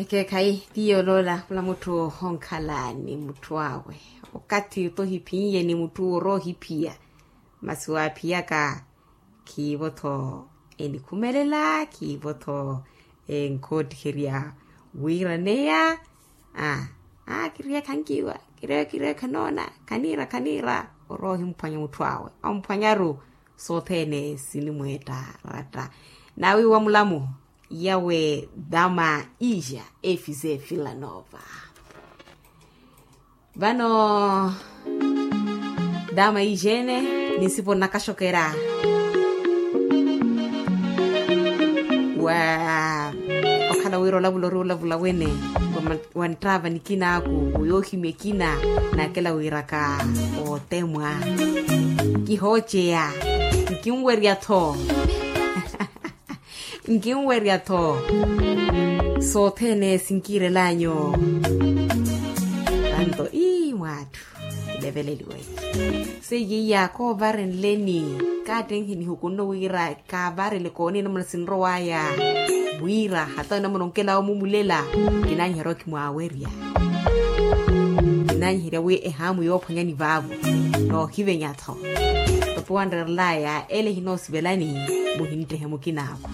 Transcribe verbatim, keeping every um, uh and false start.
Ekeekhayi, ti yooloola khula mutthu onkhala ni mutthu awe. Okathi oto ohiphiye ni mutthu owo orowa ohiphiya. Masi waaphiyaka khiivo-tho enikhumelela khiivo-tho enkoottiherya. Wiiraneya a a kiriye khankiiwa, kiriye kiriye khanoona khaniira khaniira. Orowa ohimphwanya mutthu awe omphwanyaru. Sothene sinimweetta ratta. Nawiiwa mulamu yawe dama ija efise filanova. Vano dama ija ene ninsipo nnakaxokera wa okhala wira olavula ori olavula wene wa nttaava nikinaku oyoohimya ekina. Nakela wiraka otemwa kihooceya nkinwerya-tho. Nkinwerya-tho sothene sinkiirelanyu. Anto ii mwatthu kileveleliwe. Seiye iya koovarenleni kaattenhe nihukunno wira kaavarele kooni namuna sinrowaya wira hata namuna onkela omumulela. Kinanyiherya okimwawerya kinanyiherya wi ehaamu yoophwanyani vaavo noohivenya-tho. Topo wanrerelaya ele hinoosivelani muhinttehe mukinaako.